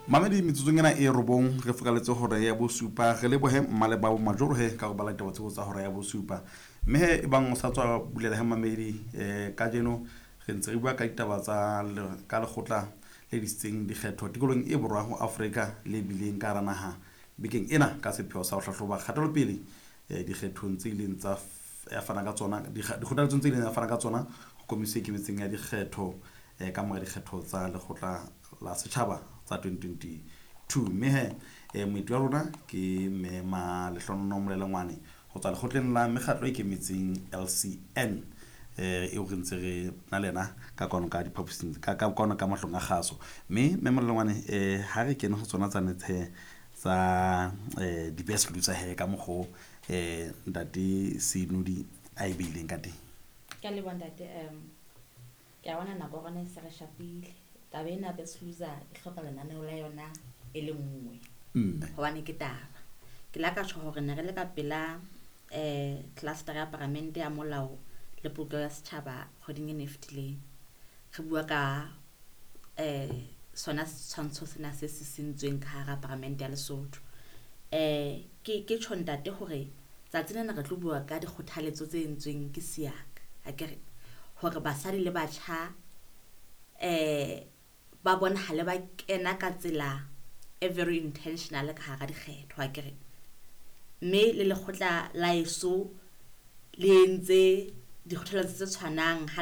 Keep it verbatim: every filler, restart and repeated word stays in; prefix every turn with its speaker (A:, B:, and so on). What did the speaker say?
A: Mamedi, metsotsong ena e robong re fokaletse hora ya bosupa. Re lebohe mmaleba majoro he ka go bala ditaba tseo tsa hora ya bosupa. Mme he e bang o sa tswa bulela he mamedi, um kajeno re ntse re bua ka ditaba tsa ka lekgotla le disitseng dikgetho tikolong e borwa ho Afrika le bileng ka hara naha bekeng ena ka sepheo sa ho hlahloba kgatelopele um dikgethong tse ileng tsa ya fana ka tsona, dikgothaletsong tse ileng ya fana ka tsona ho komisi e ikemetseng ya dikgetho um ka mora dikgetho tsa lekgotla la setjhaba tsa twenty twenty-two. Mme he um moeti wa rona ke mme Malehlonono Molelengwane ho tswa lekgotleng la mekgatlo e ikemetseng, L C N, eh eo re ntse re na le yena ka kwano ka diphaposing ka ka kwano ka mahlong a kgaso. Mme mme Molelengwane, um ha re kene ho tsona tsane tshe tsa um di-best loser he ka mokgo um ntate Senodi a e beileng ka teng.
B: Ke a leboha, ntate. um ke a bona nako ya rona e se re shapile. Taba ena best loser e hloka lenaneo la yona e le nngwe
A: mme
B: hobane ke taba ke la ka tjho hore ne re le ka pela um cluster ya paramente ya molao le polokeho ya setjhaba kgweding ena e fetileng, re bua ka um sona setshwantsho sena se sisintsweng ka hara paramente ya Lesotho. um ke ke tjho, ntate, hore tsatsi lena re tlo bua ka dikgothaletso tse entsweng ke SIAC akere hore basadi le batjha um ba bonahale ba kena ka tsela e very intentional ka hara dikgetho akere. Mme le lekgotla la eso le entse dikgothaletso tse tshwanang ha.